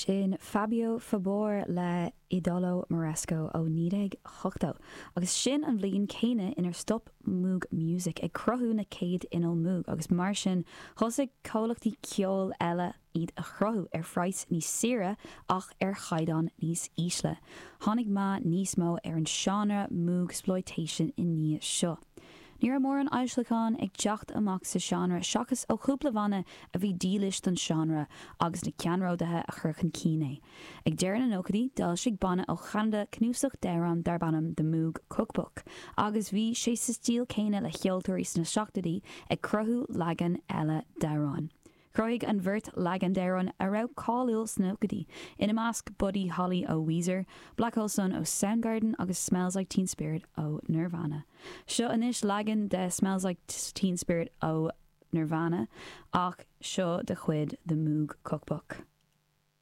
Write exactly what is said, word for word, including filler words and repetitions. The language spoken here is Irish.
Sin Fabio Fabor le Idolo Moresco ó naoi déag ochtó, agus sin an bhliain céanna inar stop Moog Music ag cruthú na céad inneall Moog agus mar sin thosaigh comhlachtaí ceoil eile iad a chruthú ar phraghas níos saoire ach ar chaighdeán níos ísle. Tháinig meath níos mó ar an seánra Moogsploitation i ndiaidh seo. Ní raibh mórán foilseachán ag teacht amach sa seánra seachas ó chúpla banna a bhí dílis don seánra agus na ceannródaithe a chur chun cinn é. Ag deireadh na nóchaidí, d'fhoilsigh banna ó Cheanada cnuasach d'amhráin darb ainm The Moog Cookbook, agus bhí sé sa stíl céanna le ceoltóirí sna seachtóidí ag cruthú leagan eile d'amhráin. Chruthaigh an bheirt leagan d'amhráin a raibh cáiliúil sna nóchaidí, ina measc Buddy Holly ó Weezer, Black Hole Sun ó Soundgarden agus Smells Like Teen Spirit ó Nirvana. Seo anois leagan de Smells Like Teen Spirit ó Nirvana ach seo de chuid The Moog Cookbook.